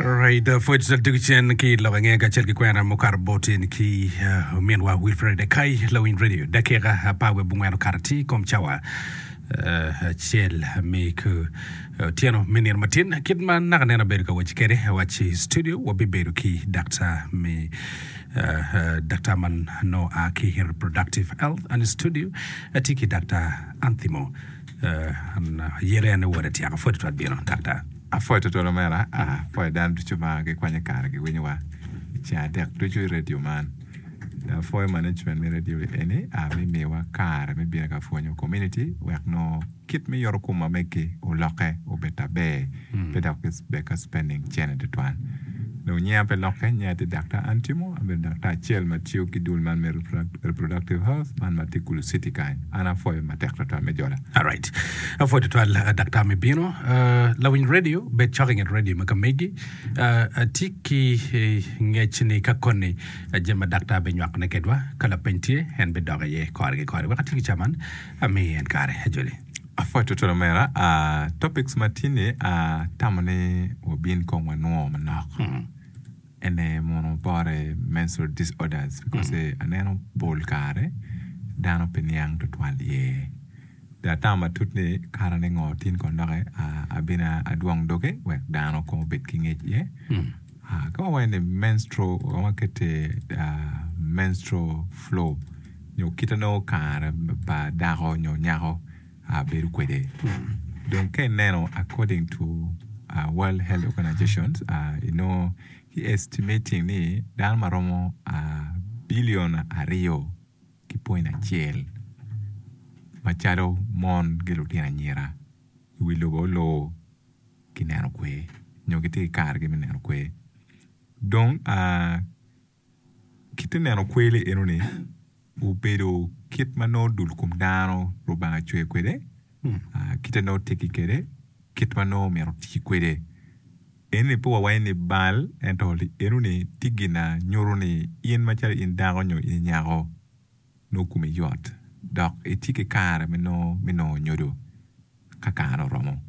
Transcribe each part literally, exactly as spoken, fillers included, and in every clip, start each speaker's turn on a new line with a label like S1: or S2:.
S1: Right, pwod tugo cen ki lok ange kacel ki kwena mukato botin ki uh, ominwa Wilfred Ekai Lawiny Radio dakika apar wiye abongwen okato atir kom cawa uh, acel me ku otyeno me nino matin kit ma naka neno abedo ka waci kede awaci studio wabibedo ki daktar me uh, uh, daktar man no a ki reproductive health and studio atye ki daktar Anthimo uh, an yere ane wode tyaka pwod twal bino daktar
S2: Apwoyo tutwal omera, apwoyo dano ducu ma gikwanyo kare giwinyowa i ceng adek ducu i radio man. Apwoyo management me radio eni me miyowa kare me bino ka pwonyo community wek nongo kit me yoto kom ma megi olokke obed aber pe dok gibed ka spending cene tutwal. Dong nyinga pe lokke, nyinga tye Daktar Antimo, abedo daktar acel ma tiyo ki dul man me reproductive health man ma tye Gulu City kany. An apwoyo matek tutwal me jola.
S1: Alright. Apwoyo tutwal uh, daktar me bino. Uh, lawiny radio, bed cok i nget radio ma ka megi. Uh, atye ki eh, ngec ni ka koni uh, jami ma daktar binywakone kedwa ka lapeny tye en bidok iye kore ki kore. Wek ati ki caman ami en kare ajoli.
S2: Apwoyo tutwal omera, uh, topics ma tye ni uh, tamo ni wabin kong wanwo manok. Ene mono bore menstrual disorders because mm. aneno pol kare dano pe niang tutwal iye. Da atamo matut ni kara ni ngo tin kon doke uh, abina adwong doge wek dano kong obed ki ngec iye. Mm. Uh, ka wawaco ni menstrual wakete uh, menstrual flow nyo kite nongo kare pa dako nyo nyako uh, bedo kwede. Mm. Dong ka ineno according to uh, World Health Organizations uh, inongo ki estimating ni dano maromo uh, billion aryo ki point acel macalo mon ki lutino anyira i wi lobo oloo kineno kwe nyo gitye ki karegi me neno kwe. Dong uh, kit neno kweli enoni obedo kit ma nongo dul kom dano Rubanga ocweyo kwede mm. uh, kite nongo tye kwede kit ma nongo myero oti kwede. Eni pe wawaco ni bal ento enoni tye gina nyuto ni in macalo in dako nyo in nyako nongo komi yot dok itye ki kare me nongo me nongo nyodo ka kare oromo.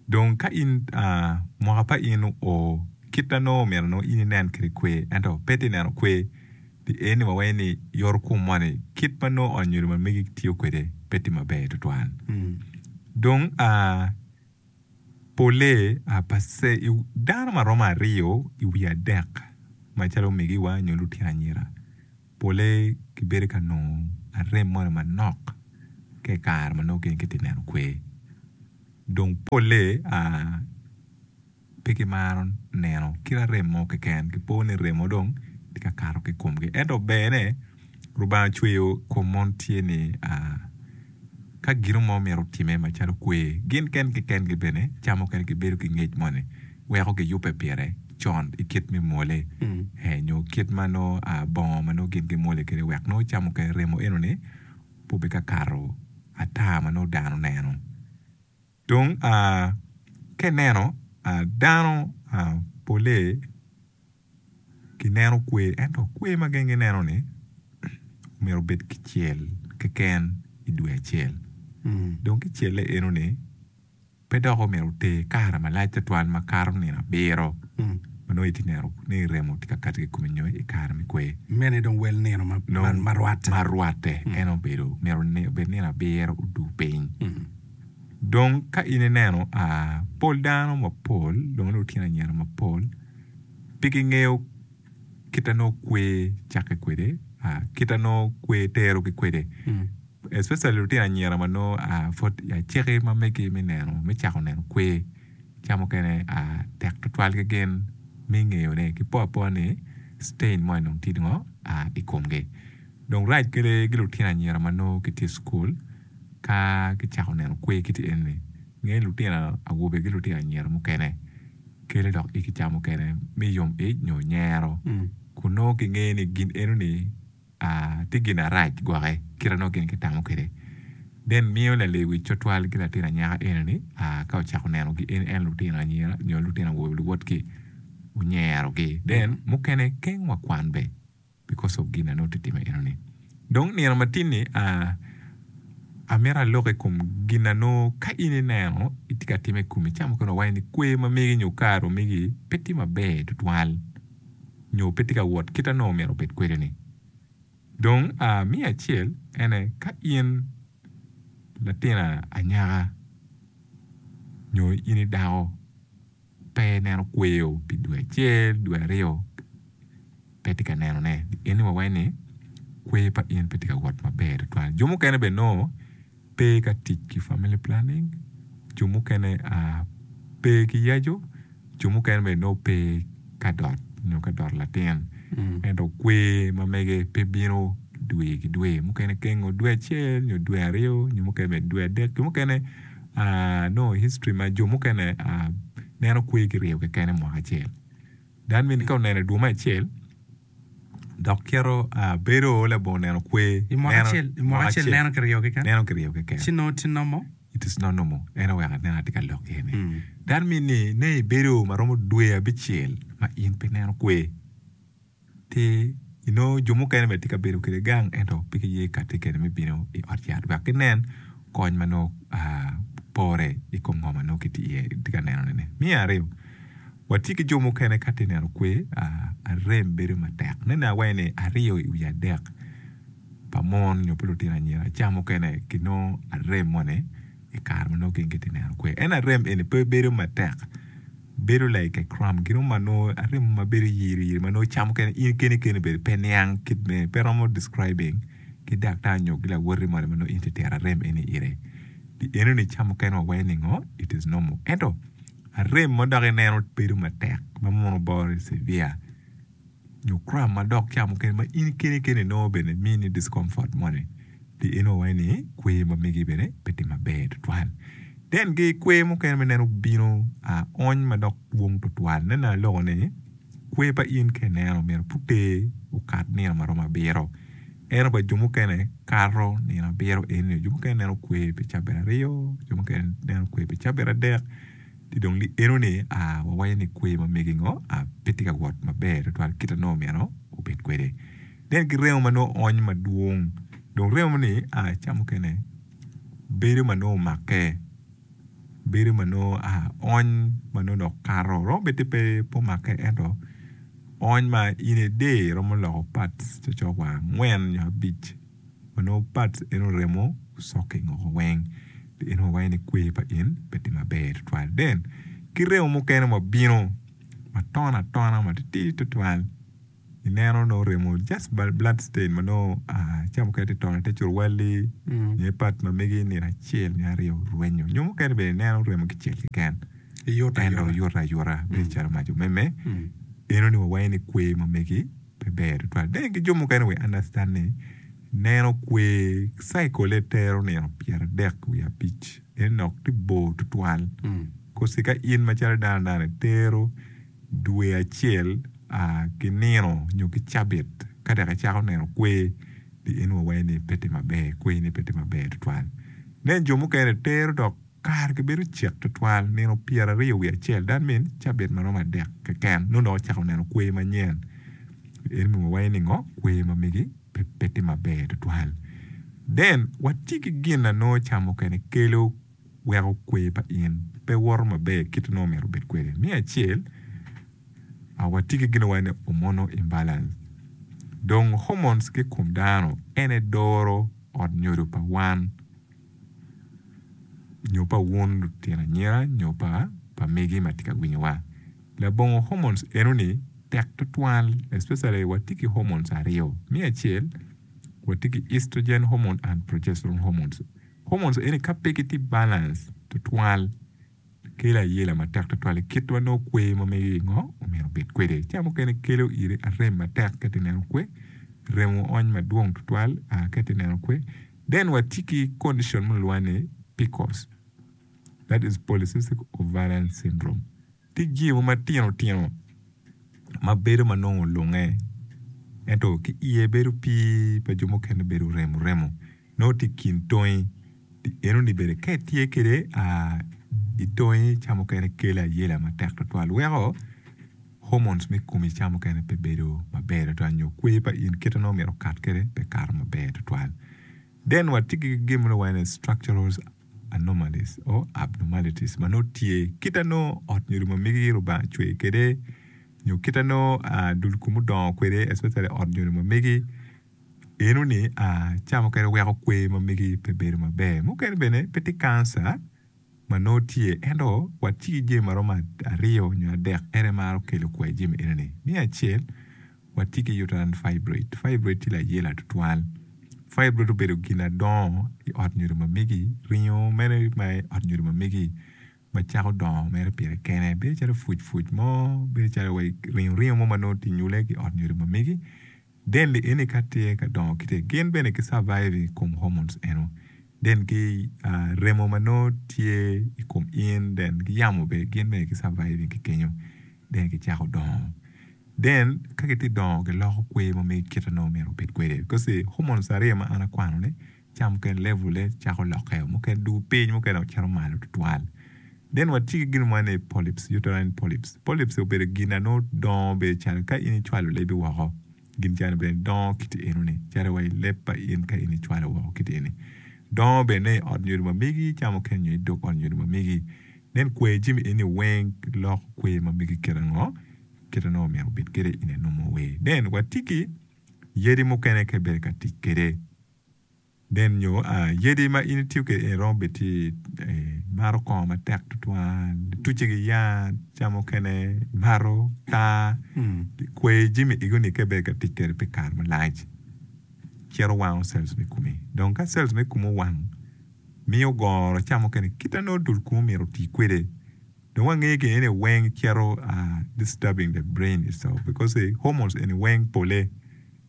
S2: Dong ka in uh, mwaka pa in oo kit na nongo myero nongo in inen kwede kwe ento pe tye neno kwe pi eni wawaco ni yoto kom moni kit ma nongo ot nyodo ma megi tiyo kwede pe tye maber tutwal. Mm. Dong uh, pole uh, pase, dano maromo aryo i wi adek macalo omegiwa nyo lutino anyira pole gibedo ka nongo arem moni manok ka i kare ma nongo gin gitye neno kwe. Dong pole uh, pe gimaro neno kit arem mo keken gipo ni remo dong tye ka kato ki komgi ento berne Rubanga ocweyo kom mon tye ni uh, ka gino mo myero otime macalo kwe gin kengi kengi bene ca mukene gibedo ki ngec moni weko giyubbe pire con i kit me mwole mm. eh, nyo kit ma nongo uh, bongo ma nongo gin gimwole kwede wek nongo ca mukene remo enoni pe obed ka kato ata ma nongo dano neno. Dong uh, ka ineno uh, dano uh, pole gineno kwe ento kwe ma gin gineno ni myero obed kicel keken i dwe acel. Mm. Dong kicelle enoni pe dok omyero oter kare malac tutwal makato nino abiro mm. ma nongo itye neno ni remo tye ka kati ki komi nyo i kare me kwe.
S1: Mene dong wel nino ma, ma, ma rwatte.
S2: Ma rwatte mm. en obedo myero obed nino abiro odu piny. Mm. Dong ka in ineno uh, pol dano mapol dong lutino anyira mapol pe gingeyo kite nongo kwe cakke kwede uh, kite nongo kwe terogi kwede mm. Especially lutino anyira ma nongo uh, pud aceki ma megi me neno me cako neno kwe ca mukene uh, tek tutwal ki gin me ngeyone ki po apoa ni stain mo dong tye ngo uh, i komgi. Dong rac kede ki lutino anyira ma nongo gitye i cukul ka gicako neno kwe kiti eni nge lutino awobe ki lutino anyira mukene kele dok igi ca mukene me yom ic nyo nyero mm. kun nongo kingeyo ni gin enoni uh, tye gin arac gwoke kite nongo gin gitamo kwede then miyo lalewic tutwal ki latin anyaka enoni uh, ka ocako neno gi en, en lutino anyira nyo lutino awobe luwotgi onyerogi then mukene keng wa kwan be because of gin na nongo tye time enoni. Dong nino matin-ni uh, Amito alok i kom gin na nongo ka in ineno itye ka time i komi ca mukene wawaco ni kwer ma megi nyo kare megi pe tye maber tutwal nyo pe tye ka wot kit ma nongo myero obed kwede-ni. Dong me acel ene ka in latin anyaka nyo in i dako pe ineno kweyo pi dwe acel dwe aryo pe tye ka nenone eni wawaco ni kwer pa in pe tye ka wot maber tutwal. Jo mukene bene nongo pe ka tic ki family planning, jo mukene pe ki yaco, jo mukene bene nongo pe ka dot nyo ka doto latin ento kwer ma mege pe bino dwe ki dwe mukene kengo dwe acel nyo dwe aryo nyo mukene bene dwe adek jo mukene nongo history ma jo mukene neno kwer kiryo keken i mwaka acel that mean ka oneno i dwe me acel dok cito bedo labongo neno kwer
S1: I mwaka acel i mwaka acel neno kiryo keken
S2: neno kiryo keken
S1: ci nongo tye normal
S2: it is not normal en oweko aneno atye ka lok iye ni that mean ni ne ibedo maromo dwe abicel ma in pe ineno kwer ti inongo jo mukene bene tye ka bedo kwede gang ento pe giye kati kwede me bino i ot yat wek ginen kony ma nongo pore i kom ngo ma nongo gitye iye tye ka nenone-ni. Me aryo watye ki jo mukene ka tye neno kwer arem bedo matek nene awaco ni aryo i wi adek pa mon nyo pa lutino anyira ca mukene ginongo arem moni i kare ma nongo gin gitye neno kwer en arem eni pe bedo matek bedo like a cramp gin mo ma nongo arem ma bedo yiri yiri ma nongo ca mukene in keni keni bene pe niang kit me pe romo describing ki daktar nyo ki lawoti moni ma nongo in itye tero arem eni ire enoni ca mukene wawaco ni ngo it is normal ento arem ma dok ineno bedo matek ma mono boro severe nyo cramp ma dok ca mukene ma in keni keni inongo bene mini discomfort moni pi eno wawaco ni kwer ma megi bene pe tye maber tutwal then ki kwer mukene ma ineno bino ony ma dok dwong tutwal nene aloko ni kwer pa in ka ineno myero pe oter okat nino maromo abiro ento pa jo mukene kato nino abiro eni jo mukene neno kwer pi cabit aryo jo mukene neno kwer pi cabit adek ci dong enoni wawaco ni kwer ma megi ngo pe tye ka wot maber tutwal kit ma nongo myero obed kwede then ki remo ma nongo ony madwong dong remo ni ca mukene bedo ma nongo omakke bedo ma nongo ony ma nongo dok kato romo bed ni pe omakke ento ony ma in a day romo loko parts cokcok wa angwen nyo abic ma nongo parts eno remo soaking woko weng eno wawaco ni kwer pa in pe tye maber tutwal then ki remo mukene ma bino ma tono atona matitidi tutwal ineno nongo remo just blood stain ma nongo ca mukene tye tono ite curuwali nyo i part ma megi nino acel nyo aryo rwenyo nyo mukene bene ineno remo kicel keken ento yuto ayuta bedo calo mac omeme enoni wawaco ni kwer ma megi pe ber tutwal then ki jo mukene we understand ni neno kwer cycle tero nino pyeradek wiye abic en dok tye bor tutwal kosi ka in macalo dano dano itero dwe acel ki nino nyo ki cabit ka dok icako neno kwer en wawaco ni pe tye maber kwer ni pe tye maber tutwal then jo mukene tero dok kare gibedo cek tutwal nino pyeraryo wiye acel that mean cabit maromo adek keken nongo dok ocako neno kwer manyen eni wawaco ni ngo kwer ma megi pe tye maber tutwal then watye ki gin na nongo ca mukene kelo weko kwer pa in pe woto maber kit ma nongo myero obed kwede me acel watye ki gin ma wawaco ni hormonal imbalance dong hormones ki i kom dano ene doro ot nyodo pa wan nyo pa wun lutino anyira nyo pa pa megi ma tye ka winyowa labongo hormones enoni tek tutwal especially watye ki hormones aryo me acel watye ki estrogen hormone and progesterone hormones hormones eni ka pe gitye balance tutwal kelo ayela matek tutwal i kit ma nongo kwer ma megi ngo omyero obed kwede ca mukene kelo iri arem matek ka itye neno kwer remo ony madwong tutwal ka itye neno kwer then watye ki condition ma kilwongo ni P C O S that is polycystic ovarian syndrome tye jami matino tino ma bedo ma nongo olunge ento ki iye bedo pii pa jo mukene bedo remo remo nongo tye i kin tongi enoni bene ka itye kwede i tongi ca mukene kelo ayela matek tutwal weko hormones me komi ca mukene pe bedo maber tutwal nyo kwer pa in kit ma nongo myero okat kwede pe kato maber tutwal. Then watye ki gin ma lwongo ni structural anomalies or abnormalities ma nongo tye kit ma nongo ot nyodo ma megi Lubanga ocweyo kwede nyo kit ma nongo dul kom odongo kwede especially ot nyodo ma megi enoni ca mukene weko kwer ma megi pe bedo maber. Mukene bene pe tye kanca ma nongo tye ento watye ki jami maromo aryo nyo adek en aye maro kelo kwer jami enoni. Me acel watye ki uterine fibroid, fibroid tye layela tutwal. Fibroid obedo gin adongo i ot nyodo ma megi ringo mere ma i ot nyodo ma megi ma cako dongo mere pire kene bedo calo puc puc mo bedo calo wai ringo ringo mo ma nongo tye nyule ki i ot nyodo ma megi then li eni ka tye ka dongo kite gin bene ki survive i kom hormones eno then ki remo ma nongo tye i kom in then ki yamo bene gin bene ki survive ki kenyo then gicako dongo. Then ka gitye dongo giloko kwer ma megi kite nongo myero obed kwede because hormones aryo ma an akwano ni ca mukene level ne cako lokke mukene dugo piny mukene dok cito malo tutwal. Then watye ki gin mo ni polyps, uterine polyps. Polyps obedo gin na nongo dongo bedo calo ka in icwalo lebi woko gin calo bene dongo kiti enoni calo wa i leb pa in ka in icwalo woko kiti eni dongo bene i ot nyodo ma megi ca mukene nyo i dog ot nyodo ma megi then kwer jami eni weng loko kwer ma megi kite ngo kite nongo myero obed kwede in a normal way. Then watye ki yadi mukene ka ibedo ka tic kwede then nyo yadi ma in itiyo kwede eni romo bedo tye imato kongo matek tutwal ituce ki yat ca mukene imato taa kwer jami egoni ka ibedo ka tic kwede pi kare malac cito wango cells me komi dong ka cells me komi owang miyo goro ca mukene kite nongo dul komi myero oti kwede dong wangeyo gin eni weng cito disturbing the brain itself because hormones eni weng pole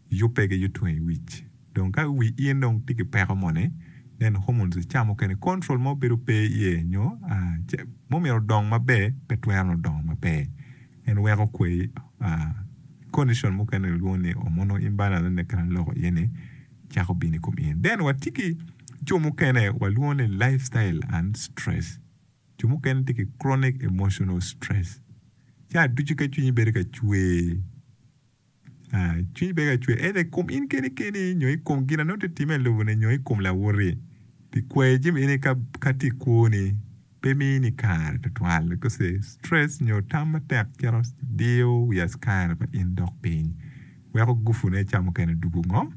S2: yubbe ki yuto i wic dong ka wi in dong tye ki peko moni then hormones ca mukene control mo bedo pe iye nyo mumyero odong maber pe twero nongo dongo maber en weko kwer condition mukene kilwongo ni hormonal imbalance ene kit ma aloko iye ni cako bino i kom in. Then watye ki jo mukene walwongo ni lifestyle and stress jo mukene tye ki chronic emotional stress ca ducu ka cwinyi bedo ka cwer cwinyi bedo ka cwer either i kom in keni keni nyo i kom gin na nongo tye timme i lobo-ni nyo i kom lawoti pi kwer jami eni ka tye i kwoni pe mini kare tutwal because stress nyo tam matek cito diyo wi askari pa in dok piny weko gufune ca mukene dugo ngo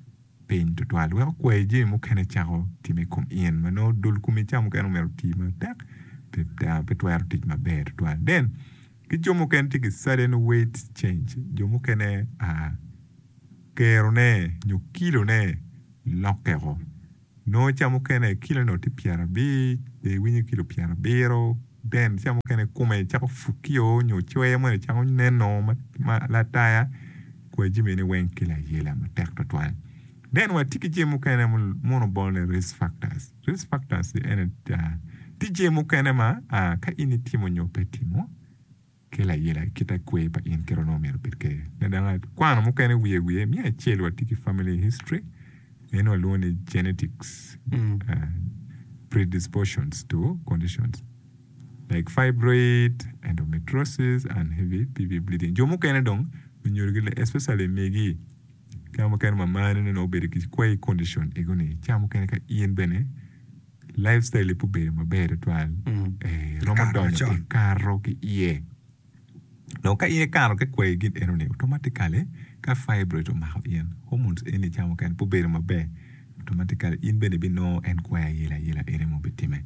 S2: piny tutwal weko kwer jami mukene cako timme i kom in ma nongo dul komi ca mukene myero oti matek pe twero tic maber tutwal. Then ki jo mukene tye ki sudden weight change jo mukene kerone nyo kilone lokkeo nongo ca mukene kilone tye pyerabic dong iwinyo kilo pyerabiro then ca mukene kome cako pukio nyo cwer moni cako neno ma lataya kwer jami eni weng kelo ayela matek tutwal. Then watye ki jami mukene muno obolo ni risk factors. Risk factors ene tye jami mukene ma ka in itimo nyo pe itimo kelo ayela kit kwer pa in kit onongo myero obed kwede. Kwano mukene wiye wiye me acel watye ki family history eno walwongo ni genetics predispositions to conditions like fibroid, endometriosis and heavy P V bleeding. Jo mukene dong lunyodogi especially megi ca mukene mamani nongo obedo ki kwer condition egoni ca mukene ka in bene lifestyle pe obedo maber tutwal romo donyo ikato ki iye dong ka in ikato ki kwer gin enoni automatically ka fibroid omako in hormones eni ca mukene pe obedo maber automatically in bene ibinongo en kwer ayela ayela ene ma obitimme.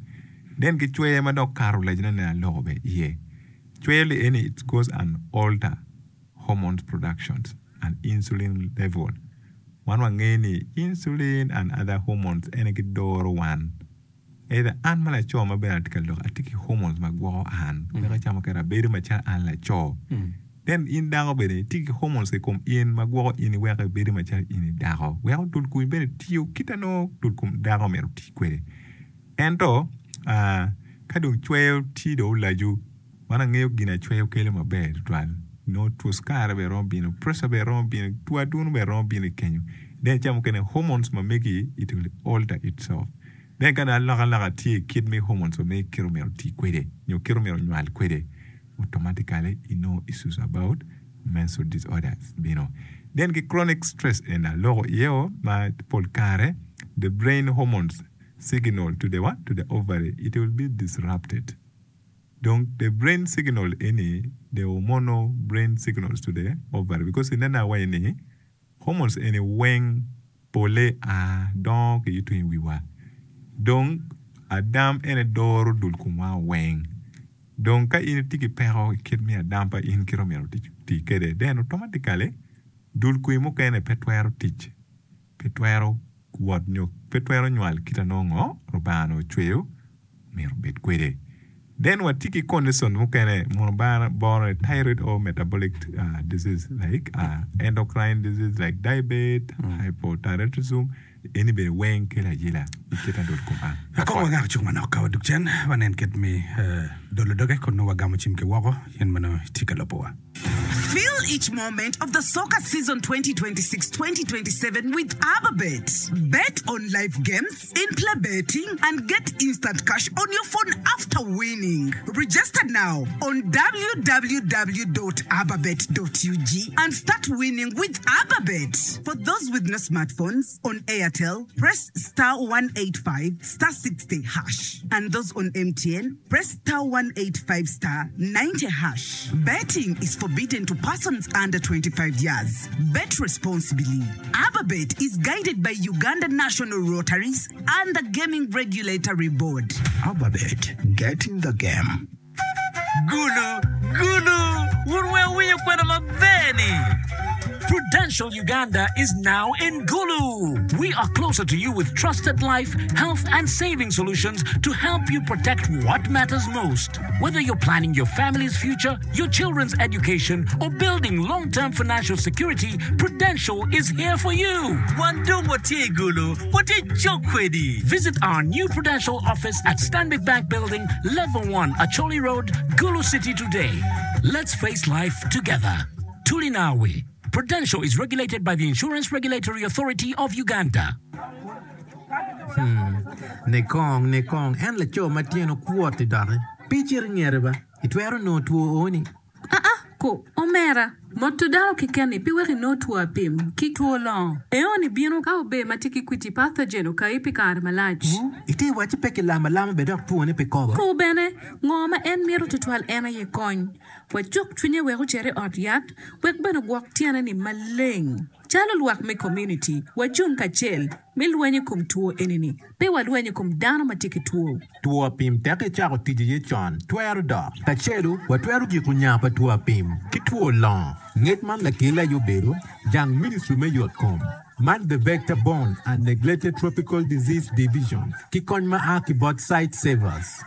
S2: Then ki cwer ma dok kato lacone ne aloko bene iye cwer li eni it goes and alter hormones productions and insulin level wan wangeyo ni insulin and other hormones ene gidoro wan either an ma laco ma bene atye ka lok atye ki hormones ma gwoko an weko ca mukene abedo macalo an laco then in dako bene itye ki hormones i kom in ma gwoko in weko ibedo macalo in i dako weko dul komi bene tiyo kit ma nongo dul kom dako myero oti kwede ento ka dong cwer tye dong olaco wan angeyo gin acweyo kelo maber tutwal nongo two cukari bene romo bino pressure bene romo bino two aduno bene romo bino i kenyo then ca mukene hormones ma megi it will alter itself then ka dong alokaloka tye i kit me hormones ma megi kit myero oti kwede nyo kit myero onywal kwede automatically inongo issues about menstrual disorders bino. Then ki chronic stress eni aloko iye o ma pol kare The brain hormones signal to the what? To the ovary, it will be disrupted. Dong the brain signal eni, the hormonal brain signals to the ovary, because ineno awaci ni hormones eni weng pole a dongo ki tung i wiwa. Dong adam ene doro dul komwa weng. Dong ka in itye ki peko i kit me adam pa in kit omyero oti kwede, then automatically dul komi mukene pe twero tic, pe twero wot nyo pe twero nywal kit a nongo Lubanga onongo ocweyo myero obed kwede. Then watye ki condition mukene mono boro ni thyroid or metabolic disease like endocrine disease like diabetes, hypothyroidism eni bene weng kelo ayela i kit adot kom an.
S1: Kong wangak cuk manok ka wadug cen wanen kit me dolo doge kun nongo wagamo cim ki woko in ma nongo itye ka lubowa.
S3: Feel each moment of the soccer season twenty twenty-six twenty twenty-seven with Ababet. Bet on live games, in-play betting, and get instant cash on your phone after winning. Register now on w w w dot ababet dot u g and start winning with Ababet. For those with no smartphones, on Airtel, press star one eight five star sixty hash. And those on M T N, press star one eight five star ninety hash. Betting is forbidden to persons under twenty-five years. Bet responsibly. Ababet is guided by Uganda National Rotaries and the Gaming Regulatory Board.
S4: Ababet, get in the game.
S5: Gulu, Gulu, wun weng wuwinyo kwena maber ni.
S6: Prudential Uganda is now in Gulu. We are closer to you with trusted life, health, and saving solutions to help you protect what matters most. Whether you're planning your family's future, your children's education, or building long term financial security, Prudential is here for you.
S5: Wan dong watye i Gulu, watye cok kwedi.
S6: Visit our new Prudential office at Stanbic Bank Building, Level one, Acholi Road, Gulu City today. Let's face life together. Tulinawi. Prudential is regulated by the Insurance Regulatory Authority of Uganda.
S7: Ne kong, ne kong, en laco ma tyene okwot-ti doki. Pi cito i ngete ba, itwero nongo two oni.
S8: Aa, ko, omera, moto dano keken-ni pi wek inong two apim ki two longo. Eoni bino ka obe ma tye ki kwiti pathogen okayi pi kare malac.
S7: Ite wacci pe kilamo alama be dok twone pe kobo.
S8: Ko bene, ngo ma en mito tutwal en aye kony. Wacuk cwinye wek ocit i ot yat, wek bene ogwok tyene-ni maleng. Calo lwak me community, wacung kacel me lweny i kom two eni-ni. Pe walweny i kom dano ma tye ki two.
S7: Two apim tek icako tic iye con, twero dok. Kacelu, watwero giko nya pa two apim ki two longo. Ngec man lakel aye obedo jang Ministry me yot kom. Man the Vector Borne and Neglected Tropical Disease Division ki kony ma a ki bot Sightsavers.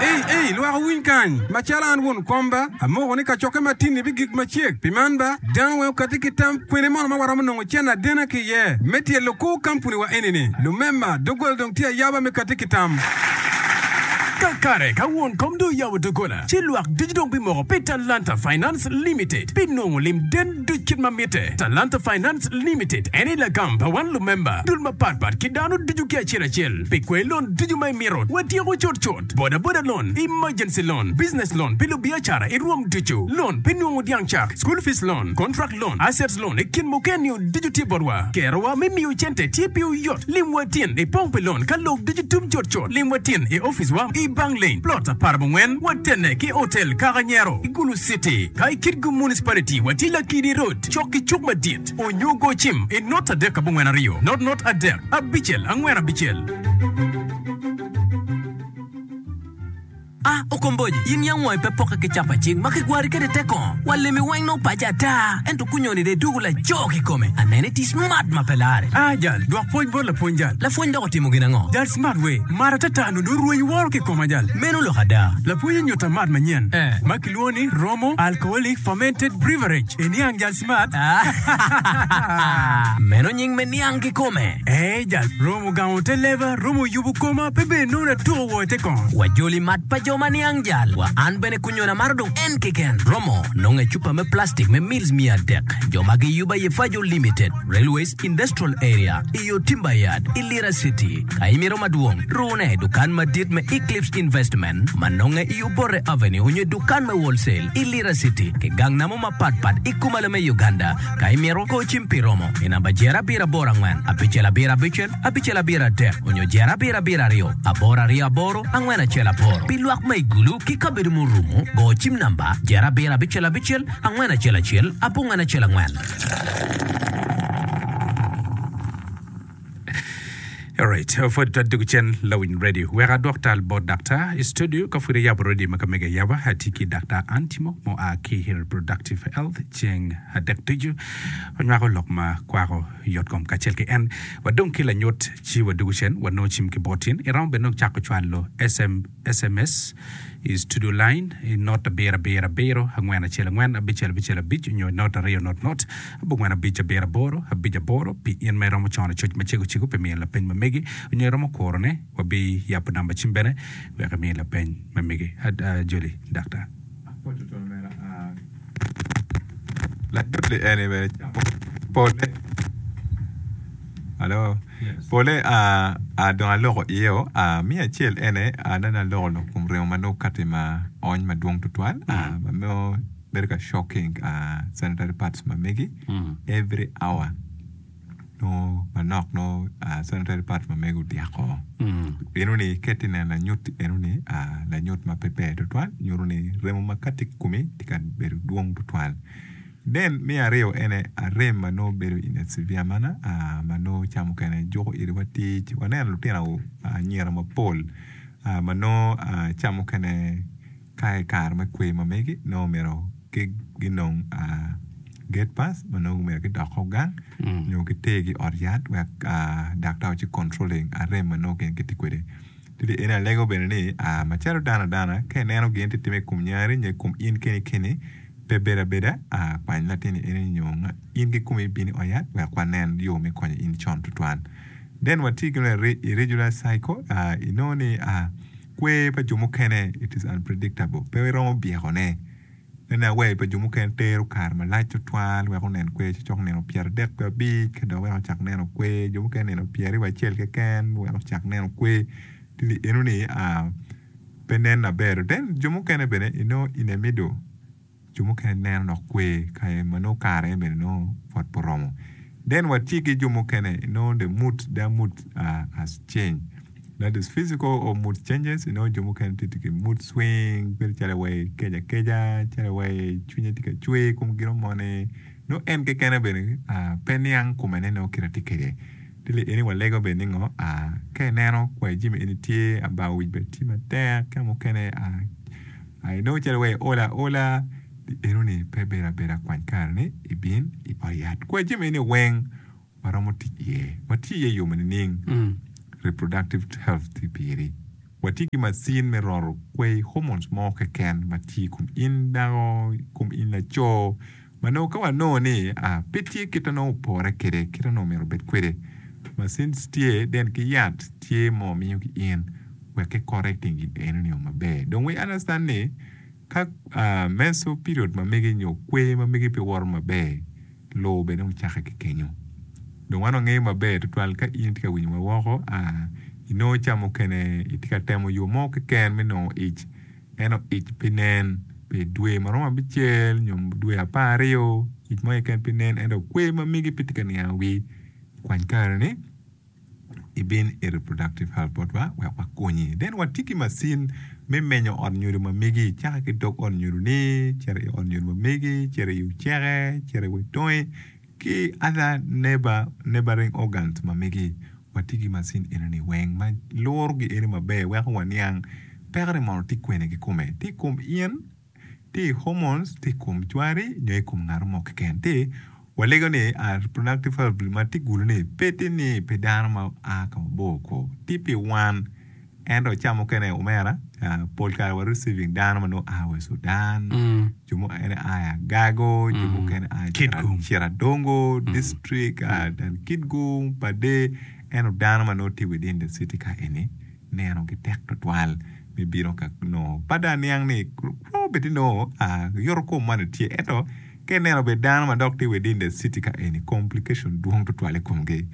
S9: Ei, ei, lwak owiny kany, macalo an won kom ba, amoko ni kacokke matin-ni bigik macek. Pi man ba, dano weng okatti ki tam kwene mono ma waromo nongo cen adena ki iye me tyelo kor kampuni wa eni-ni. Lumemba, doggola dong tye ayaba me katti ki tam.
S10: Kakare ka won kom dong oyabo doggola, ci lwak ducu dong bimoko pi Talanta Finance Limited pi nongo lim den duc kit ma mitte. Talanta Finance Limited en aye lagam pa wan lumemba, dul mapatpat ki dano ducu ki acel acel pi kwer lon ducu ma imito. Watyeko cutcut boda boda loan, emergency loan, business loan pi lubiacara i rwom ducu, loan pi nongo dyang cak, school fees loan, contract loan, assets loan i kin mukene ducu tye botwa. Kerowa me miyo cente tye pi oyot. Limwa tin i pong pi loan ka lok ducu tum cutcut. Limwa tin i office wa i Bank Lane, plot apar abongwen, watene ki Hotel Kakanyero i Gulu City. Ka i Kitgum Municipality watye Lakidi Road, cok ki cuk madit. Onyo go cim i not adek abongwen aryo, not not adek, abicel angwen abicel.
S5: Ah, okomboji, in yam wangi pe pokke ki capa cing ma kigwari kwede te kongo. Wa lemi weng nongo paco ata, ento kunyoni de dwogo laco kikome. Anene ti smart ma pe lare.
S9: Ah, jal, dwok pwony bot lapwony jal.
S5: Lapwony dok otimo gin ango?
S9: Jal smart we, mar atata nongo rweny woro kikoma jal.
S5: Meno lok ada.
S9: Lapwony onyuta mat manyen
S5: Eh.
S9: ma kilwongo ni Romo Alcoholic Fermented Beverage. Iniang jal smart.
S5: Meno nying me niang kikome.
S9: Eh, jal, romo gamo te leba, romo yubo koma, pe bene nongo natuko wo i te kongo.
S5: Wajoli mat pa jo Jo ma niang jal wa an bene kunyona maro dong en keken. Romo nongo i cupa me plastic me mils miya adek. Jo ma giyubo aye Fajo Limited, Railways Industrial Area, i yo Timber Yard, i Lira City. Ka imito madwong, rune i dukan madit me Eclipse Investment ma nonge i Obote Avenue onyo i dukan me Wholesale i Lira City ki gang namo mapat pat i kumalo me Uganda. Ka imito, go cim pi romo i namba jer abiro aboro angwen abicel abiro abicel abicel abiro adek onyo jer abiro abiro aryo aboro aryo aboro angwen acel aboro. Pi lwak ma i Gulu ki kabedo murumo, go cim namba jer abiro abicel abicel angwen acel acel abongwen acel angwen.
S1: Alright, pwod twaddugu cen lawiny radio. Wek adwok tal bot daktar i studio ka pud iyabo radio ma ka mege ayaba atye ki daktar Antimo mua ki i Reproductive Health ceng adek ducu onywako lok ma kwako yotkom kacel ki en. Wadong ki lanyut ci wadugu cen wanongo cim ki bot in. Iromo bene dong cako cwalo SM, SMS i studio line i not abiro abiro abiro angwen acel angwen abicel abicel abic nyo i not aryo not not abongwen abic abiro aboro abic aboro pi in ma iromo cono coc macego cego pi miyo lapeny ma megi nyo iromo kurone wabi yabo namba cim bene wek imi lapeny ma megi. Ajoli daktar.
S2: Lanyut-li eni bene pole alo pole aa dong aloko iye-o me acel ene aneno aloko lok kom remo ma nongo kati ma ony madwong tutwal ma nongo bedo ka shocking sanitary pads ma megi every hour nongo manok nongo sanitary pads ma megi odyeko enoni ka itye ka neno lanyut enoni lanyut ma pe ber tutwal nyuto ni remo ma kati i komi tye ka bedo dwong tutwal. Then me aryo ene arem ma nongo bedo in a severe manner ma nongo ca mukene juko iri wa tic waneno lutino anyira mapol ma nongo ca mukene ka i kare me kwer ma megi nongo myero ginong gate pass ma nongo myero gidok o gang nyo gitergi i ot yat wek daktar oci controlling arem ma nongo gin gitye kwede. Tidi eni alego bene ni macalo dano adana ka ineno gin tye timme i kom nyari nyo i kom in keni keni pe bedo abeda kwany latinni eni nyo in kikomi ibin i ot yat wek wanen yo me konyo in con tutwal. Then watye ki irregular cycle inongo ni kwer pa jo mukene it is unpredictable pe iromo byekone nene awer pa jo mukene tero kare malac tutwal wek onen kwer ci cok nino pyeradek wiye abic ka dok wek ocak neno kwer jo mukene nino pyeraryo wiye acel keken wek ocak neno kwer ci enoni pe nen maber then jo mukene bene inongo in a middle jo mukene neno dok kwer kare ma nongo kare bene nongo pwod pe oromo then watye ki jo mukene inongo the mood their mood has changed that is physical or mood changes inongo jo mukene tye ki mood swing bedo calo wai keco akeca calo wai cwinye tye ka cwer i kom gin moni nongo en kekene bene pe niang kome ni nongo kite tye kwede ci eni walego bene ni ngo ka ineno kwai jami eni tye bar wic bene tye matek ka mukene inongo calo wai iol aola enoni pe bedo abeda kwany kare ni ibin i ot yat kwai jami eni weng waromo tic iye watye iye i yo ma nining reproductive health tye piri watye ki macin me roto kwai hormones mo keken ma tye i kom in dako i kom in laco ma nongo ka wanongo ni pe tye kit ma nongo opore kwede kit ma nongo myero obed kwede macin tye then ki yat tye ma wamiyo ki in wek ki correcting gin enoni maber dong we understand ni ka menstrual period ma megi nyo kwer ma megi pe woto maber loo bene ocake ki kenyo dong wan wangeyo maber tutwal ka in itye ka winyo wa woko inongo ca mukene itye ka temo yo mo keken me nongo ic ento ic pe nen pi dwe ma romo abicel nyo dwe apar aryo ic mo keken pe nen ento kwer ma megi pe tye ka niango wii kwany kare ni ibin i reproductive health botwa wek wakonyi. Then watye ki macin me menyo ot nyodo ma megi cake ki dog ot nyodo ni cito i ot nyodo ma megi cito i oceke cito i wi ki other neighbor, neighboring organs ma megi watye ki macin enoni weng ma luro gi eni maber weko waniang peko-ni mono tye kwene kikome tye i kom in tye i hormones tye i kom cwari nyo i kom ngat mo keken tye walego ni reproductive health ma tye gulu ni pe tye ni pi dano ma a ka mabor ko tye pi wan ento ca mukene omera pol kare wa receiving dano ma nongo a wa i Sudan jo mukene a i Agago jo mukene a i Ciradongo district Kitgum Pader ento dano ma nongo tye within the city ka eni neno gi tek tutwal Me bino ka nongo pe dong aniang ni romo bed ni nongo yoto kom man tye ento ka ineno bene dano ma dok tye within the city ka eni complication dwong tutwal i komgi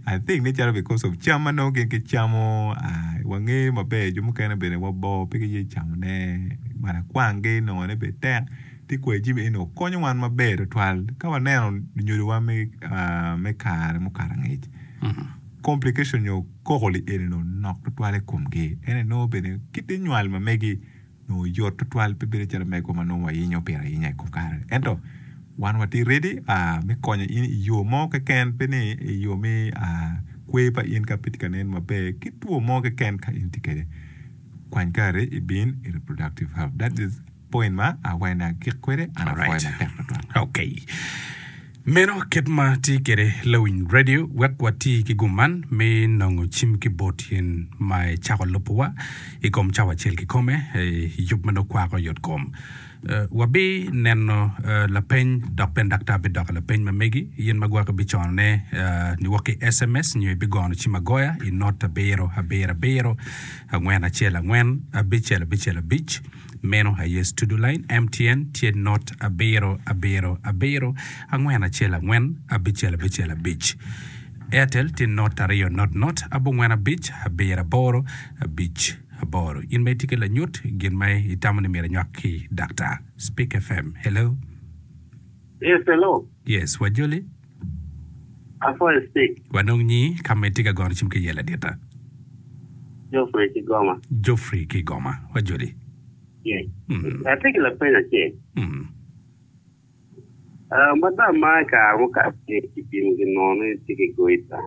S2: I think ni calo because of cam ma nongo gin gicamo wangeyo maber jo mukene bene wa bor pe giye camone malakwanggi nongone bene tek tye kwai jami eni konyo wan maber tutwal ka waneno lunyodowa me kare mukato angec complication nyo koko-li eni nongo nok tutwal i komgi ento inongo bene kit nywal ma megi nongo yot tutwal pe bedo calo megwa ma nongo wayenyo pire ayinya i kom kare ento wan watye ready me konyo in i yo mo keken pe ni i yo me kwer pa in ka pe tye ka nen maber ki two mo keken ka in tye kwede kwany kare ibin i reproductive health that is point ma awene agik kwede an apwoyo matek tutwal.
S1: Okay. Meno kit ma tye kwede lawiny radio wek wati ki gum man me nongo cim ki bot in ma icako lubowa i kom cawa acel kikome i yub ma nongo kwako yot kom. Wabi neno lapeny dok bene daktar bidoko lapeny ma megi in ma gwok ibiconone niwok ki S M S nyo ibigono cim agoya i not abiro abiro abiro angwen acel angwen abicel abicel abic. Meno aye studio line. M T N tye not abiro abiro abiro angwen acel angwen abicel abicel abic. Airtel tye not aryo not not abongwen abic abiro aboro abic aboro. In ma itye ki lanyut gin ma itamo ni myero inywak ki daktar. Speak F M, hello.
S11: Yes, hello.
S1: Yes, wajoli.
S11: Afoy speak.
S1: Wanong nyi ka ma itye ka gono cim ki iye ladita.
S11: Geoffrey Kigoma.
S1: Geoffrey Kigoma, wajoli.
S11: Yes.
S1: Mm.
S11: Atye ki lapeny acel.
S1: Mm.
S11: Uh, madam ma i kare mukato kipimo ginongo ni tye ki goita.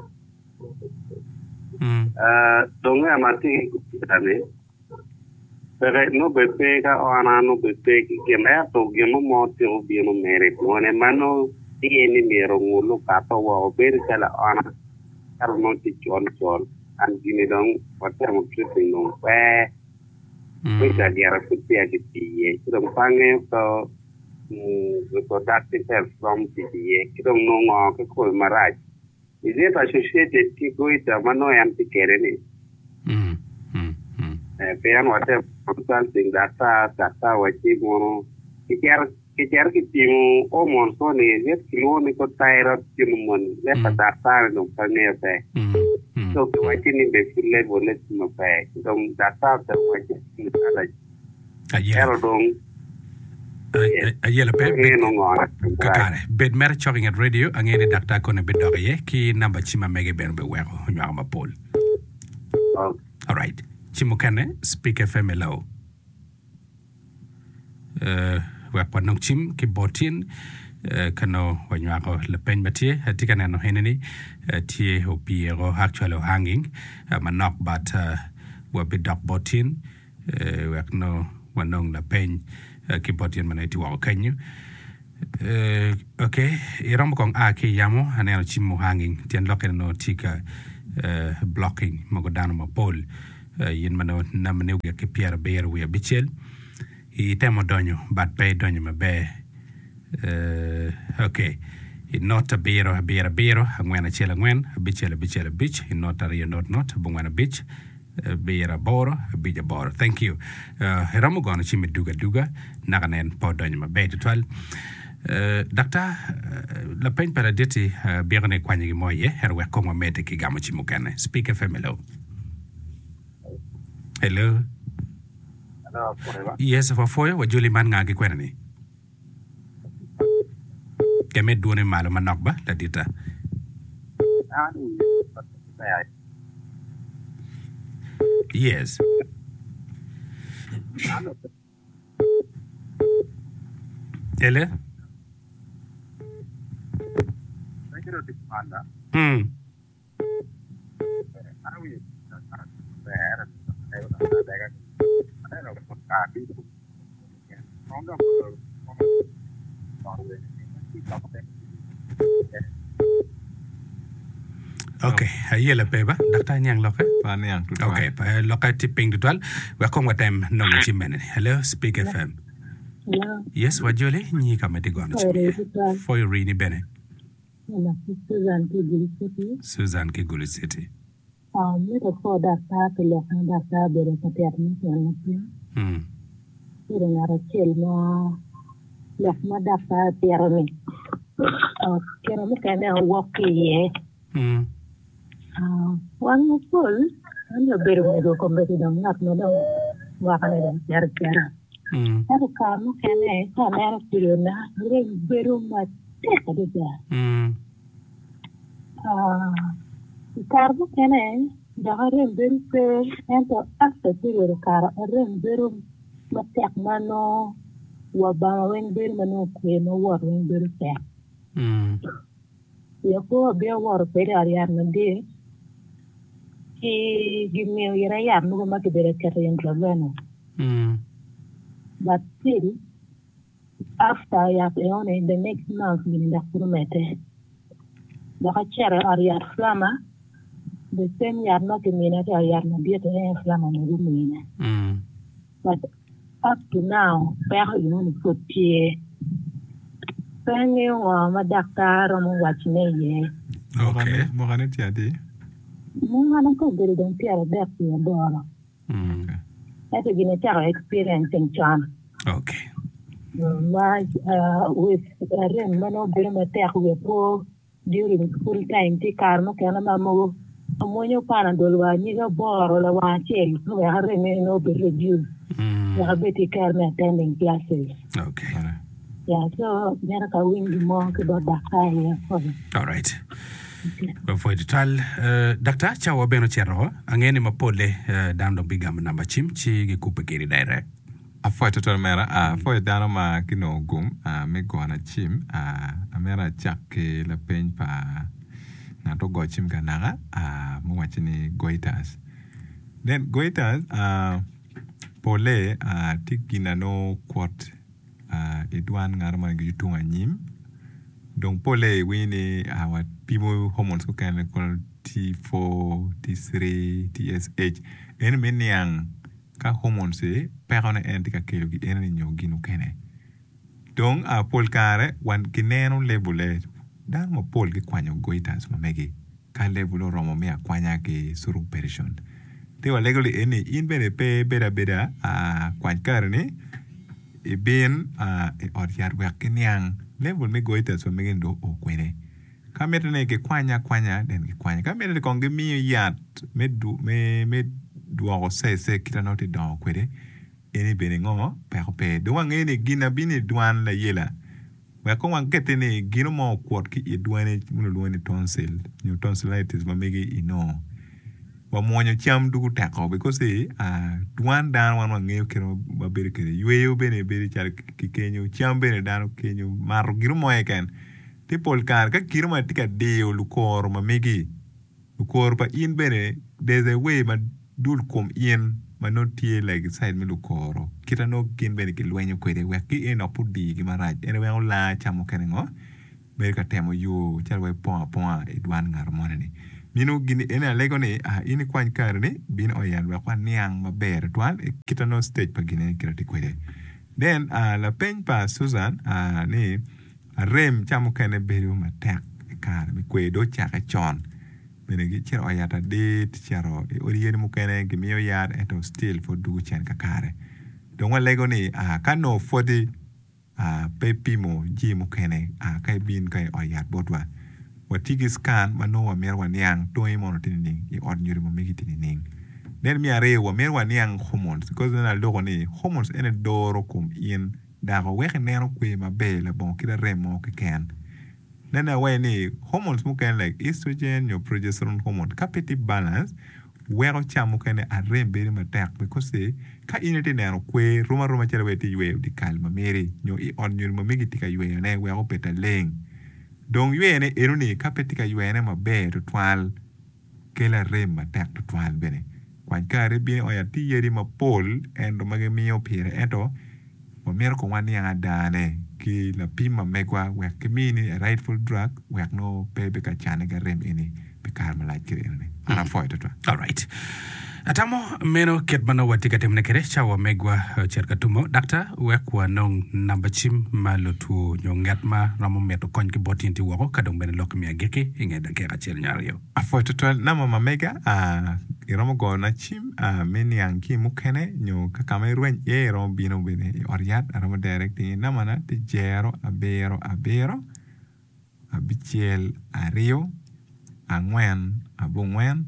S1: Mm.
S11: Uh, dong en ma tye ki goita ni peke nongo bed pe ka ona nongo bed pe ki gin ento gin mo mo tyeko bino mere i twone ma nongo tye ni myero ongul okato woko bedo calo aona calo nongo tye col col an gini dong watemo treating dong pe
S1: Mm.
S11: goita gire pud peya kitii iye ci dong pe angeyo ka mm, reproductive health romo tic iye ki dong nongo ngo kikome marac is it associated ki goita ma nongo en tye kwede ni?
S1: Mm. Mm. Mm.
S11: Eh, pien watemo consulting daktar daktar wacci mono kicito kicito kipimo hormones mo ni is it kilwongo ni ko thyroid hormone le pa
S1: Mm.
S11: daktar ni dong pe angeyo pe.
S1: Mm. Mm.
S11: So kiwacci ni be pud level ne tye maber ci dong daktar otemo wacci ni allergy
S1: Ayela.
S11: ento dong yes
S1: Ayela pe
S11: angeyo
S1: bed
S11: nongo ngo marac.
S1: Kakare bed mere cok i nget radio angeyo ni daktar kone bidok iye ki namba cim ma mege bene biweko onywako mapol.
S11: Okay.
S1: Alright. Cim mukene, Speak F M, hello. Uh, wek wanong cim ki bot in uh, ka nongo wanywako lapeny ma tye atye ka neno eni ni uh, tye opyeko actually hanging uh, manok but uh, wabidok bot in uh, wek nongo wanong lapeny uh, ki bot in ma nongo itye woko kenyo. Uh, ok iromo kong a ki i yamo aneno cim mo hanging tyen lokke ni nongo tye ka uh, blocking mogo dano mapol uh, in ma nongo nambane ogik ki pyerabiro wiye abicel itemo donyo but pe idonyo maber uh, ok i not abiro abiro abiro angwen acel angwen abicel abicel abic i not aryo not not abongwen abic abiro aboro abic aboro. Thank you. uh, iromo gono cim iduga aduga naka nen pe odonyo maber tutwal. uh, daktar uh, lapeny pa laditi uh, byeko ni ikwanyo gin mo iye ento wek kong wamedde ki gamo cim mukene. Speak F M, hello, hello.
S11: Hello, afoy.
S1: Yes, wapwoyo wajoli man nga ki kwena ni keme dwone malo manok ba ladita.
S11: An
S1: Yes. Ele mm. Ok, ayela pe ba daktar niang loke.
S2: Pa niang tutwal.
S1: Ok, pa loke tye piny tutwal wek kong watem nongo cim mene ni. Hello, Speak F M.
S12: Hello.
S1: Yes, wajoli nyi ka ma itye gono cim
S12: Ore
S1: iye.
S12: tutwal.
S1: Foyo rini bene.
S12: Susan ki Gulu City.
S1: Susan ki Gulu City.
S12: Mito pwo daktar pi lok ma daktar obedo ka tito me tyen matye. Obedo ngat acel ma lok ma daktar tito-ni kine mukene owok ki iye. Wan mapol an abedo mego kombeddi dong ngat ma dong mwakane dong cito acita. Ento kare mukene ka aneno period-na rem bedo matek adada. I kare mukene dok arem bedo pe ento after period okato arem bedo matek ma nongo wa banga weng bedo ma nongo okwe ma wot weng bedo tek. I akwo abino awoto kwede i ot yat madit ci gimiyo ira yat mogo ma kibedo ka keto intravenous but still after yat enoni the next month gini dok pud omedde dok acito i ot yat Flama the same yat ma kimina ki i ot yat madit aye Flama bene gumina but up to now peko enoni pud tye pe angeyo ngo ma daktar romo wacone iye.
S2: Mwakane tye adi?
S12: Mwakane ka obedo dong pyeradek wiye aboro. Ento gin acako experiencing con. Ma with arem ma nongo bedo matek wiya po during school time tye kare mukene ma mogo amwonyo panadol wa anyiga aboro lawang acel wek arem eni nongo obed reduce wek abed ki kare me attending classes. Yeah, so mito ka awiny gin mo ki bot daktar iye apwoyo.
S1: Alright. Wapwoyo tutwal. Uh, daktar, cawa bene ocito. Angeyo ni mapolle uh, dano dong bigamo namba cim ci gikubbe kedi direct.
S2: Apwoyo tutwal omera. Apwoyo dano ma ginongo gum me gona cim. Amito acak ki lapeny pa ngat ogo cim ka naka muwacci ni goiters. Then goiters pole tye gin na nongo kwot i dwan ngat moni ki tung anyim dong pole iwinyo ni wapimo hormones mukene calo T four, T three, T S H eni me niang ka hormones pekone en tye ka kelo gi eni nyo gin mukene dong pol kare kineno level-le dano mapol gikwanyo goiters ma megi ka level oromo me akwanya ki operation ti walego ni eni in bene pe ibedo abeda kwany kareni ibin i ot yat wek giniang level me goiters ma megi ni dong oo kwede ka mitte ni gikwanye akwanya then gikwanye ka mitte ni kong gimiyo yat me dwoko size kit ma nongo tye dongo kwede eni bene ngo peko pe dong wangeyo ni gin na bino i dwan layela wek kong wakette ni gino mo okwot ki i dwani ma kilwongo ni tonsil nyo tonsillitis ma megi inongo wamwonyo cam dugo teko because dwan dano wan wangeyo kit ma wabedo kwede yweyo bene bedo calo ki kenyo cam bene dano kenyo mato gino mo keken ti pol kare ka gino mo tye ka diyo lukoro ma megi lukoro pa in bene there's a way ma dul kom in ma nongo tye like side me lukoro kit ma nongo gin bene gilwenyo kwede wek ki en dok pe odigi marac en weko laa ca mukene ngo bedo ka temo yo calo wai pongo aponga i dwan ngat moni-ni mino gin eni alego ni in ikwany kareni bin i ot yat wek waniang maber tutwal kit ma nongo stage pa gin eni kit ma tye kwede then lapeny pa Susan ni arem ca mukene bedo matek i kare me kwer dong ocake con bene gicito i ot yat adit cito i odi yadi mukene gimiyo yat ento still pud dwogo cen kakare dong walego ni ka nongo pwodi pe ipimo jami mukene ka ibin ka i ot yat botwa watye ki scan ma nongo wamito waniang tongi mono tye nining i ot nyodo ma megi tye nining then me aryo wamito waniang hormones because nongo aloko ni hormones ene doro kom in dako weko ineno kwer maber labongo kit arem mo keken nene awaci ni hormones mukene like estrogen nyo progesterone hormone ka pe tye balance weko ca mukene arem bedo matek because ka in itye neno kwer rom aroma calo wai itye yweyo dyekal ma meri nyo i ot nyodo ma megi itye ka yweyone wek obed aleng dong yweyone enoni ka pe tye ka yweyone maber tutwal kelo arem matek tutwal bene kwany kare ibino i ot yat tye yadi mapol ento ma gimiyo pire ento wamito kong waniang adane ki lapim ma megwa wek kimini a rightful drug wek nongo pe bed ka cane ki arem eni pi kare malac kede enoni an apwoyo tutwal.
S1: Alright. Atamo meno kit ma nongo watye ka timone kwede cawa megwa ocito ka tumo. Daktar, wek wanong namba cim ma lutwo nyo ngat ma romo mito kony ki bot in tye woko ka dong bene lok me agikki i nge dakika acel nyo aryo.
S2: Apwoyo tutwal namba ma mega iromo goyona cim me niang ki mukene nyo ka ka ma irweny iye iromo bino bene i ot yat aromo directing nambana tye jero abiro abiro abicel aryo angwen abongwen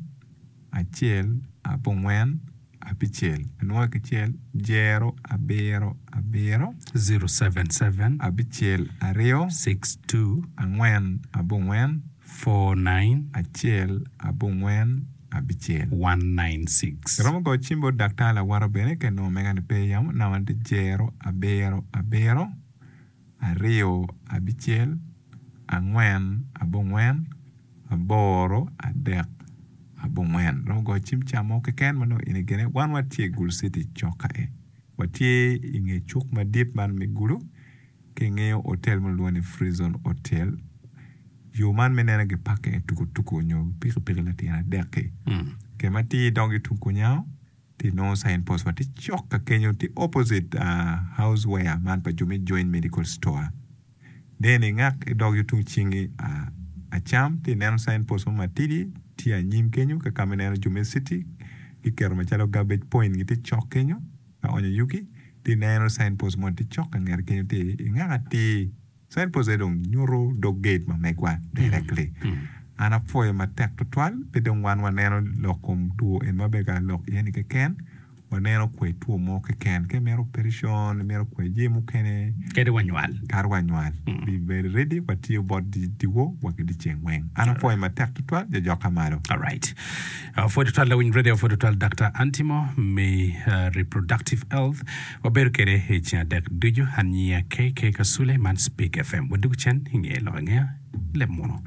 S2: acel abongwen abicel anwoyo kicel jero abiro abiro
S1: zero seven seven
S2: abicel aryo
S1: six two
S2: angwen abongwen
S1: four nine
S2: acel abongwen abicel
S1: one nine six.
S2: Iromo goyo cim bot daktar lawota bene ka inongo mega ni pe yamo namba tye jero abiro abiro aryo abicel angwen abongwen aboro adek abongwen. Romo goyo cim ca mo keken ma nongo in igene. Wan watye i Gulu City cok kae. Watye i nge cuk madit man me Gulu ki ingeyo otel ma kilwongo ni Free Zone Hotel. Yo man me nene gipake i tukutuku nyo pikipiki latin adek-ki. Ke ma tye idok ki tung kunyango tye inongo sign post wa tye cok ka kenyo tye opposite house ware man pa jo me Joint Medical Store. Then ingak idok yo tung cingi acam tye ineno sign post mo matidi tye anyim kenyo ka ka ma ineno jo me city giketo macalo garbage point gitye cok kenyo ka onyo yugi tye ineno sign post moni tye cok ka ngete kenyo tye ingak atir sign post aye dong nyuto dog gate ma megwa directly. An apwoyo matek tutwal pe dong wan waneno lok kom two eni ma bedo ka lok iye ni keken waneno kwe two mo keken ka imito operation imito kwe jami mukene
S1: Kadi wa nywal.
S2: Kadi wa nywal. Be very ready watiyo bot dyewor wa ki dyeceng weng. An apwoyo matek tutwal jajokka malo.
S1: Alright. Apwoyo tutwal lawiny radio apwoyo tutwal Doctor Antimo me reproductive health wabedo kede i ceng adek ducu an nyinga K K Kasule man Speak F M wadwogo cen inge lok angeya leb muno.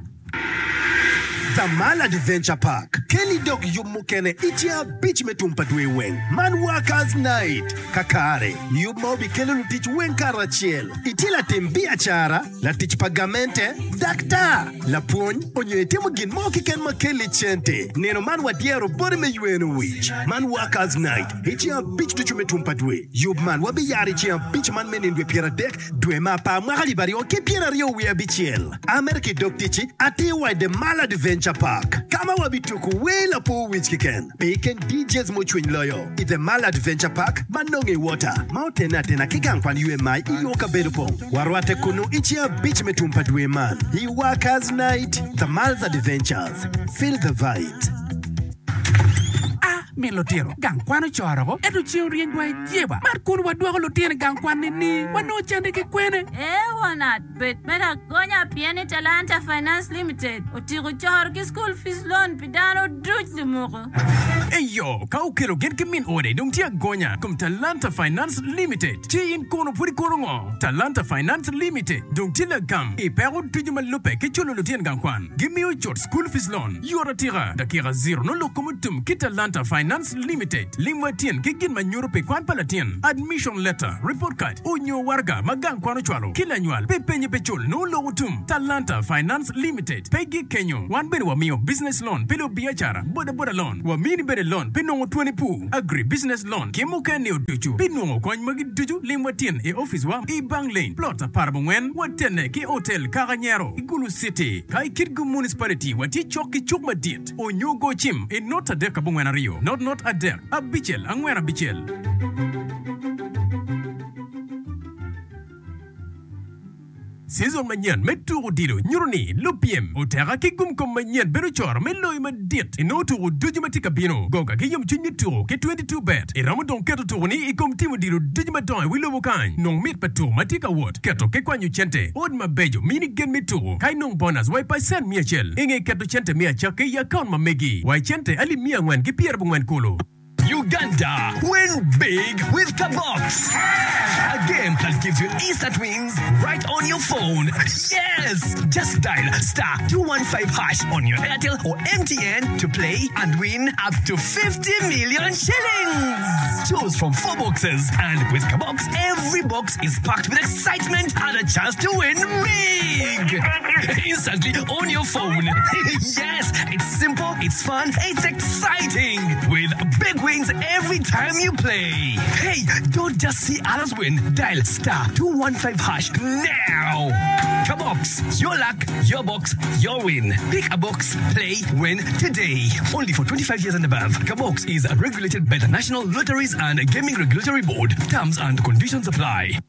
S4: The Mall Adventure Park keli dok yub mukene i ceng abic me tum pa dwe weng man Workers Night. Kakare, yub ma obikelo lutic weng karacel. Itye latim biacara, latic pa gamente, daktar, lapwony, onyo itimo gin mo keken ma keli cente. Nino man wadyero boti me yweno wic. Man Workers Night i ceng abic ducu me tum pa dwe. Yub man wabiyaro i ceng abic man me nino dwe pyeradek dwe me apar mwaka alip aryo ki pyeraryo wiye abicel. Amerka i dog ticci atir wa i The Mall Adventure Park, ka ma wabituko wer lapor wic keken. Pe iken D Js mucwiny loyo i The Mall Adventure Park ma nonge i Water, ma otene atena ki gang kwan U M I i yo kabedo pong. Warwatte kunnu i ceng abic me tum pa dwe man i Workers Night, The Mall's Adventures. Feel the vibes.
S10: A Min lutino gang kwan ocoro ko, ento ceng oryeny wa i jeba. Man kun wadwoko lutino i gang kwan nini? Wanongo cente ki kwene?
S13: Ee won at bed me lagonya pien ni Talanta Finance Limited otiko coro ki school fees loan pi dano duc lumuku.
S10: Eyo, ka okelo gin ki min ode dong tye agonya kom Talanta Finance Limited, ci in kono pud ikuro ngo? Talanta Finance Limited dong tye lagam i peko ducu ma lubbe ki culo lutino gang kwan. Gimiyo cut school fees loan yot atika, dakika zero nongo lok kom otum ki Talanta Finance Limited. Lim wa tyen ki gin ma nyuto pi kwan pa latin, admission letter, report card, onyo waraga ma gang kwan ocwalo ki lanywal pi penye pi cul nongo lok otum. Talanta Finance Limited pe gik kenyo, wan bene wamiyo business loan pi lubiacara, boda boda loan, wamini bene loan pi nongo twoni pur, agri business loan ki mukene ducu. Pi nongo kony magi ducu lim wa tyen i opic wa i Bang Lane, plot apar abongwen, watene ki Hotel Kakanyero i Gulu City. Ka i Kitgum Municipality watye cok ki cuk madit onyo go cim i not adek abongwen aryo not not adek abicel angwen abicel. Season manyen me tuko odilo nyuto ni lupyem oteka ki gumkom manyen bedo coro me loyo madit i nongo tuko ducu ma tye ka bino. Goga ki yomcwiny me tuko ki twenty two bet. Iromo dong keto tuko-ni i kom tim odilo ducu madongo i wi lobo kany. Nong mit pa tuko ma tye ka wot, keto ki kwanyo cente, ot mabeco mini gen me tuko ka inong bonus wa i pacent miya acel i nge keto cente me acakki i akaun ma megi wa i cente alip miya angwen ki pyerabongwen kulu.
S14: Uganda, win big with Kabox! A game that gives you instant wins right on your phone. Yes! Just dial star two one five hash on your Airtel or M T N to play and win up to fifty million shillings! Choose from four boxes and with Kabox every Every box is packed with excitement and a chance to win big! Instantly on your phone. Yes, it's simple, it's fun, it's exciting! With big wins every time you play. Hey, don't just see others win. Dial star two one five hash now! Kabox, your luck, your box, your win. Pick a box, play, win today. Only for twenty-five years and above. Kabox is regulated by the National Lotteries and Gaming Regulatory Board. Terms and conditions apply.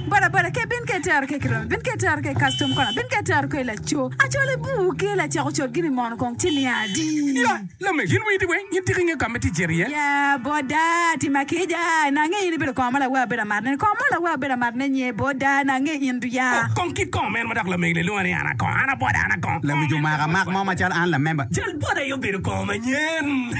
S8: Boda boda ke bin ke tero ke kiromi bin ke tero ke custom kona bin ke tero ke laco acole bu ke lacako col gini mono kong ci niya adi.
S9: Ya, lamek, in widi weng, in tiki nge ka me ticeri ye?
S8: Ya, boda, tima kija, na nge in ibedo kongo ma lawe abedo amat ne, kongo mo lawe abedo amat ne nye, boda, na nge in du ya.
S9: Oh, kong kit kongo men ma dok lamek le lwonga ni an akong, an aboda, an akong.
S15: Lawic omako amak mo macalo an lamemba.
S14: Jal boda aye obedo kongo manyen.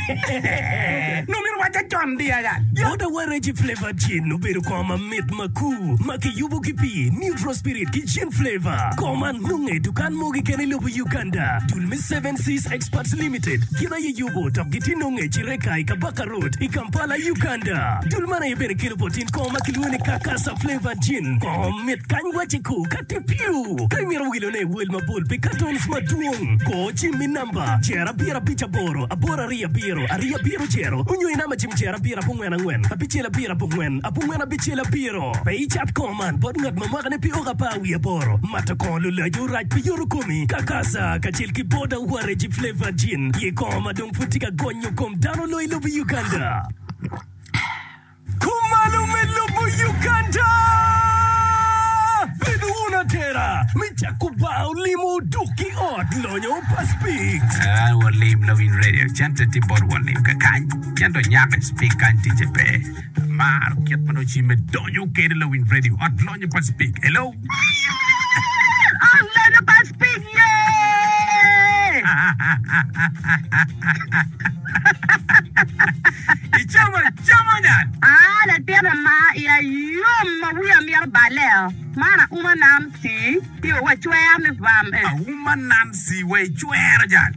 S9: Nongo myero wacca con di aya.
S14: Boda wa Reggie Flavor Gin obedo kongo mamit makur ma kiyubo ki pii, neutral spirit ki gin flavor. Kongo man nonge i dukan mo keken i lobo Uganda. Dul me Seven Seas Experts Limited gin aye yubo dok gitye nonge i Kireka i Kabaka Road i Kampala, Uganda. Dul man aye bene kelo bot in kongo ma kilwongo ni Kakasa Flavor Gin. Kongo mit kany wacce ku ka tye piu. Ka imito wilone i wel mabol pi cartons madwong, kor cim i namba jer abiro abic aboro aboro aryo abiro aryo abiro jero onyo i namba cim jer abiro abongwen angwen abicel abiro abongwen abongwen abicel abiro. Pe icat kongo man bot ngat ma mwakane pi oko apar wiye aboro. Mato kongo lulaco rac pi yoto komi. Kakasa kacel ki Boda Waregi Flavor Gin ye kongo ma dong pud tye ka gonyo kom dano loyo i lobo Uganda. Kumalo me lobo Uganda! Bedo wun atera me cako bar olimo duk ki ot lonyo pa Speaks.
S1: Ah, walim lawiny radio cente tye bot walim kakany ento nyako i speak kany ticce pe. Amaro kit ma nongo cimme donyo kede lawiny radio ot lonyo pa Speak. Hello.
S3: Ot lonyo pa Speak ye!
S1: Icamo acama nyan.
S3: Ah, latin ama iya yom ma wiya mito balle-o. Man auma Nancy tye wa cwer ni vam eh.
S1: Auma Nancy wa icwero jal.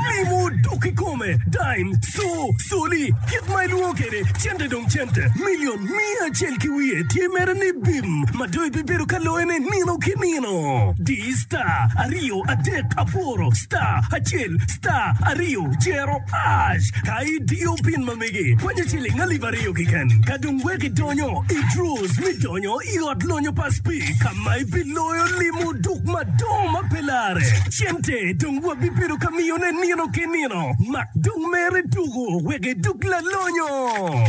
S14: Limo dok kikome, dime, co, coli, kit ma ilwongo kwede, cente dong cente, milion miya acel ki wiye tye mere ni bim ma dong ibibedo ka loyone nino ki nino. Di star aryo adek aboro star acel star aryo jero hash ka idiyo pin ma megi kwanyo ciling alip aryo keken ka dong wek idonyo i draws me donyo i ot lonyo pa Speke ka ma ibiloyo limo duk madongo ma pe lare. Cente dong wabibedo ka miyone nino ki nino. Mak dong mere tuko wek iduk lalonyo.